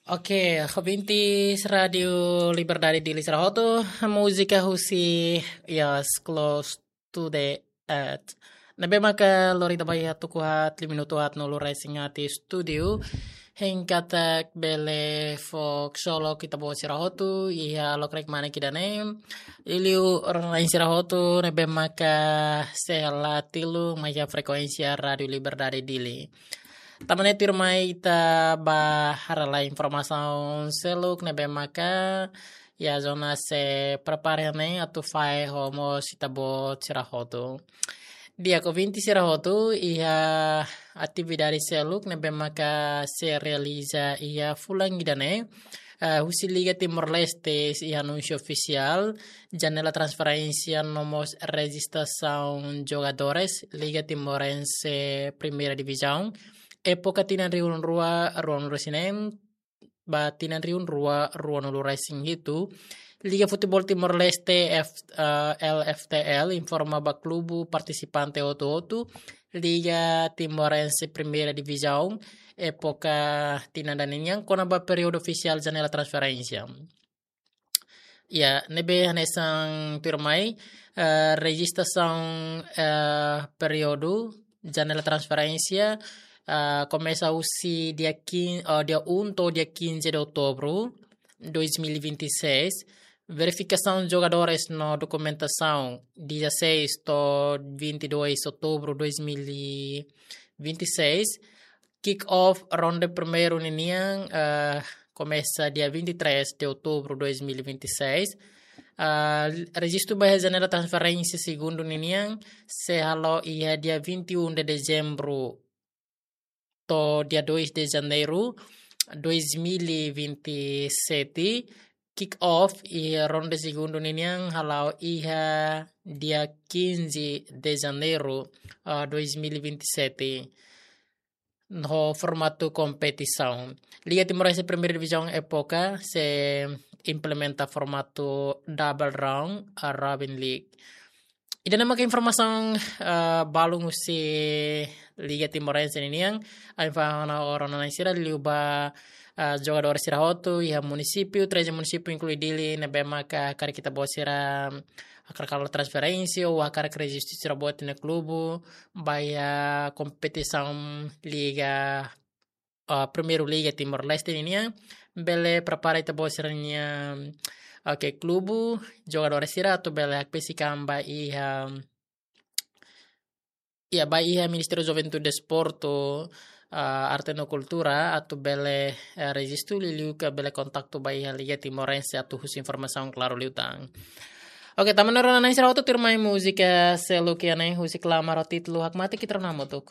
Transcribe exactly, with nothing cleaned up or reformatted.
Oke, ouvintes Rádio Liberdade Dili sira hotu, múzika husi Yes, Close to the Earth. Ne'ebé maka lori ita ba iha tuku haat, lima minutu haat no lura isin haat iha estúdiu. Hein katak bele fó ksolok ita-boot sira hotu iha lokraik mane ida-ne'e. Liuliu rona-na'in sira hotu ne'ebé maka sei hala'o tilun mai iha frekuénsia Rádio Liberdade Dili. Tanba ne'e tuirmai ita ba haree lai informasaun seluk ne'ebé maka iha zona sei prepara ne'e atu fahe ho mós ita-boot sira hotu. Di'ak, ouvinte sira hotu, iha atividade seluk ne'ebé maka sei realiza iha fulan ida-ne'e, eh, husi Liga Timor-Leste iha anúnsiu ofisiál, janela transferénsia no mós rejistrasaun jogadores Liga Timorense Primeira Divizaun, époka tinan rihun rua ruanulu-resin-neen ba tinan rihun rua ruanulu-resin-hitu. Liga Futeból Timor-Leste F-, eh, L F T L informa ba klube partisipante hotu-hotu Liga Timorense Primeira Divizaun époka tinan ida-ne'e nian kona-ba períodu ofisiál janela transferénsia. Ya, ne'ebé hanesan tuirmai, eh, rejistrasaun, eh, períodu janela transferénsia, eh, komesa husi dia quin-, eh, dia um to'o dia quinze de outubro dois mil e vinte e seis. Verifikasaun jogadores no dokumentasaun dezasseis to'o vinte e dois outubro dois mil e vinte e seis. Kick-off ronde primeiru ninian, eh, komesa dia vinte e três de outubro dois mil e vinte e seis. Ah, rejistu ba janela transferénsia segundu ninian sei hala'o iha dia vinte e um de dezembro to'o dia dois de janeiro dois mil e vinte e sete. Kick-off iha ronde segundu ninian hala'o iha dia quinze de janeiro, ah, dois mil e vinte e sete. No formatu kompetisaun. Liga Timorense Primeira Divizaun époka sei implementa formatu double round, ah, robin league. Ida-ne'e maka informasaun, ah, balun husi Liga Timorense ninian, ha'u fó ona ho rona-na'in sira liuliu ba, ah, jogadór sira hotu iha munisípiu, treze munisípiu inklui Dili, ne'ebé maka karik ita-boot sira hakarak halo transferénsia ou hakarak rejistu sira-boot nia klube ba iha kompetisaun liga, ah, Primeira Liga Timor-Leste ninian, bele prepara ita-boot sira-nia, oke, klube, jogadór sira atu bele hakbesik an ba iha, ya, ba iha Ministériu Juventude, Desportu, ah, Arte no Kultura atu bele, eh, rejistu liuliu ka bele kontaktu ba iha Liga Timorense atu husu informasaun klaru liután. Oke, tanba ne'e rona-na'in sira hotu, tuirmai múzika seluk ida-ne'e husi Klamar ho títulu Hakmatek, ita rona hamutuk.